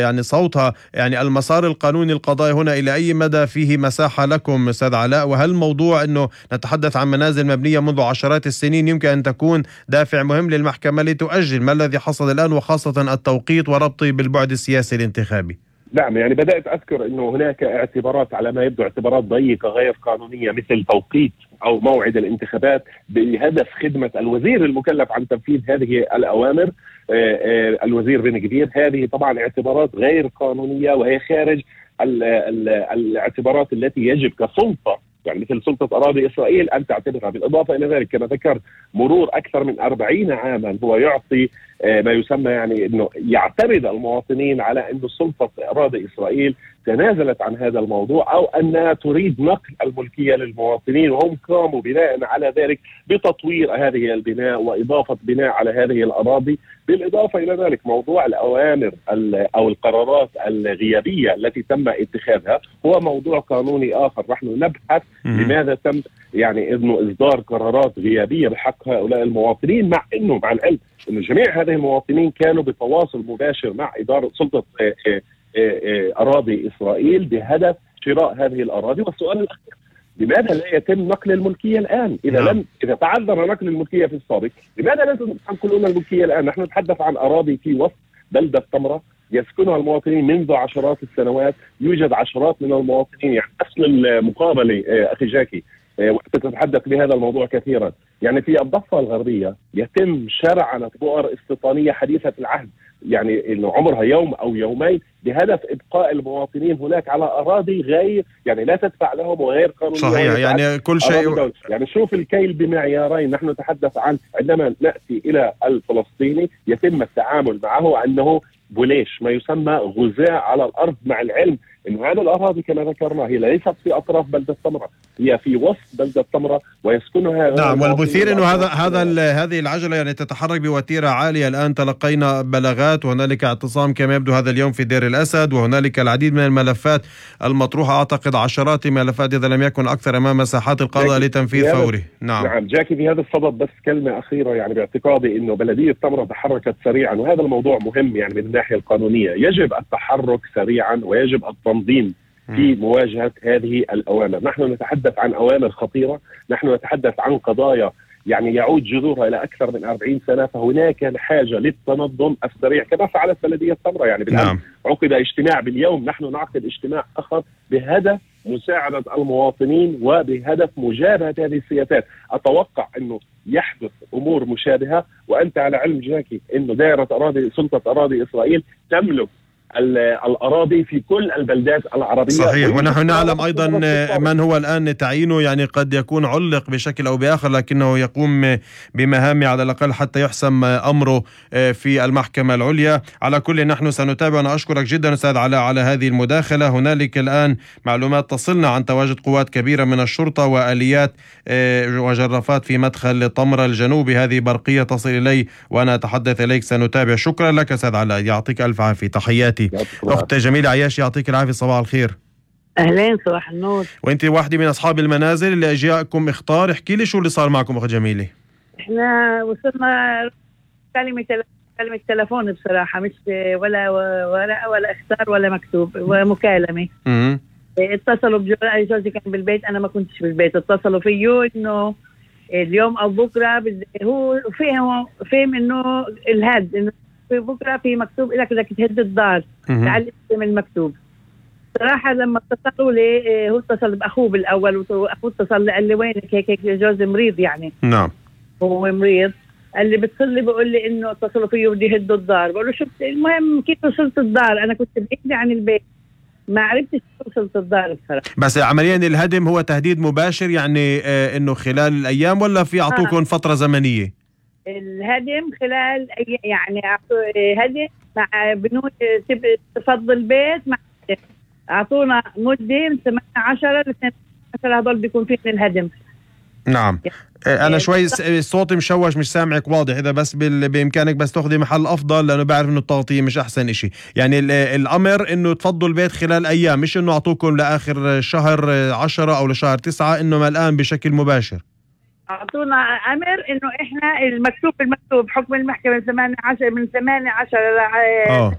يعني صوتها. يعني المسار القانوني القضائي هنا إلى أي مدى فيه مساحة لكم أستاذ علاء؟ وهل موضوع أنه نتحدث عن منازل مبنية منذ عشرات السنين يمكن أن تكون دافع مهم للمحكمة لتؤجل؟ ما الذي حصل الآن، وخاصة التوقيت وربطه بالبعد السياسي الانتخابي؟ نعم، يعني بدأت أذكر أنه هناك اعتبارات على ما يبدو اعتبارات ضيقة غير قانونية مثل توقيت أو موعد الانتخابات بهدف خدمة الوزير المكلف عن تنفيذ هذه الأوامر، الوزير بن كبير. هذه طبعا اعتبارات غير قانونية وهي خارج الاعتبارات التي يجب كسلطة، يعني مثل سلطة أراضي إسرائيل أن تعتبرها. بالإضافة إلى ذلك كما ذكرت مرور أكثر من 40 عاما هو يعطي ما يسمى يعني أنه يعترض المواطنين على أن سلطة أراضي إسرائيل تنازلت عن هذا الموضوع أو أنها تريد نقل الملكية للمواطنين، وهم قاموا بناء على ذلك بتطوير هذه البناء وإضافة بناء على هذه الأراضي. بالإضافة إلى ذلك موضوع الأوامر أو القرارات الغيابية التي تم اتخاذها هو موضوع قانوني آخر. نحن نبحث لماذا تم يعني إنه إصدار قرارات غيابية بحق هؤلاء المواطنين، مع العلم أن جميع هذه المواطنين كانوا بتواصل مباشر مع إدارة سلطة أراضي إسرائيل بهدف شراء هذه الأراضي. والسؤال الأخير، لماذا لا يتم نقل الملكية الآن؟ إذا تعذر نقل الملكية في السابق، لماذا لا تنقلون الملكية الآن؟ نحن نتحدث عن أراضي في وسط بلدة تمرة يسكنها المواطنين منذ عشرات السنوات، يوجد عشرات من المواطنين. يعني أصل المقابلة أخي جاكي وقت تتحدث بهذا الموضوع كثيرا، يعني في الضفة الغربية يتم شرعنة بؤر استيطانية حديثة العهد، يعني إنه عمرها يوم أو يومين بهدف إبقاء المواطنين هناك على أراضي غير يعني لا تدفع لهم وغير قانونية. صحيح، يعني كل شيء يعني شوف الكيل بمعيارين. نحن نتحدث عن عندما نأتي إلى الفلسطيني يتم التعامل معه أنه بوليش، ما يسمى غزاة على الأرض، مع العلم إنه هذه الأراضي كما ذكرنا هي ليست في أطراف بلدة تمرة، هي في وسط بلدة تمرة ويسكنها. نعم، والمثير إنه هذه العجلة يعني تتحرك بوتيرة عالية. الآن تلقينا بلاغات وهنالك اعتصام كما يبدو هذا اليوم في دير الأسد، وهنالك العديد من الملفات المطروحة، أعتقد عشرات الملفات إذا لم يكن أكثر أمام مساحات القضاء لتنفيذ فوري. نعم جاكي، في هذا الصدد بس كلمة أخيرة، يعني باعتقادي إنه بلدية تمرة تحركت سريعا، وهذا الموضوع مهم يعني من الناحية القانونية. يجب التحرك سريعا ويجب التنظيم في مواجهة هذه الأوامر. نحن نتحدث عن أوامر خطيرة، نحن نتحدث عن قضايا يعني يعود جذورها إلى أكثر من 40 سنة، فهناك الحاجة للتنظم السريع كما فعلت بلدية تمرة. يعني بالآن عقد اجتماع باليوم، نحن نعقد اجتماع آخر بهدف مساعدة المواطنين وبهدف مجابهة هذه السياسات. أتوقع أنه يحدث أمور مشابهة، وأنت على علم جاكي أنه دائرة أراضي سلطة أراضي إسرائيل تملك الأراضي في كل البلدات العربية. صحيح، ونحن نعلم أيضا من هو الآن تعيينه، يعني قد يكون علق بشكل أو بآخر لكنه يقوم بمهامه على الأقل حتى يحسم أمره في المحكمة العليا. على كل نحن سنتابع. أنا أشكرك جدا أستاذ علاء على هذه المداخلة. هنالك الآن معلومات تصلنا عن تواجد قوات كبيرة من الشرطة وآليات وجرافات في مدخل طمرة الجنوبي. هذه برقية تصل إلي وأنا أتحدث إليك. سنتابع. شكرا لك أستاذ علاء، يعطيك ألف عافية. تحياتي. أخت جميلة عياشي، يعطيك العافية. صباح الخير. أهلين، صباح النور. وأنت واحدة من أصحاب المنازل اللي أجاءكم إخطار. احكي لي شو اللي صار معكم أخت جميلة. إحنا وصلنا كلمة تلفون بصراحة، مش ولا ورقة ولا إخطار ولا مكتوب، ومكالمة. اتصلوا جوزي كان بالبيت، أنا ما كنتش بالبيت. اتصلوا فيه إنه اليوم أو بكرة هو فهم إنه الهد إنه في بكرة في مكتوب لك بدك تهد الدار تعال اسم المكتوب. صراحة لما اتصلوا لي هو اتصل بأخوه بالأول، وأخوه اتصل قال لي وينك هيك جوزي مريض يعني. نعم هو مريض. قال لي بتصل لي بقول لي إنه اتصلوا فيه بدي يهدوا الدار. بقول له شو المهم كيف وصلت الدار؟ أنا كنت بعيدة عن البيت، ما عرفتش وصلت الدار بصراحة. بس عمليا الهدم هو تهديد مباشر يعني إنه خلال الأيام ولا في أعطوكم فترة زمنية؟ الهدم خلال يعني هدم مع بنود تفضل البيت، مع اعطونا مده من 18 ل 12 هذول بيكون فيه الهدم. نعم. انا شوي الصوت مشوش، مش سامعك واضح. اذا بس بامكانك بس تاخذي محل افضل، لانه بعرف انه التغطيه مش احسن اشي. يعني الامر انه تفضوا البيت خلال ايام، مش انه اعطوكم لاخر شهر 10 او لشهر 9، انه الان بشكل مباشر اعطونا امر انه احنا المكتوب حكم المحكمة من 18 ل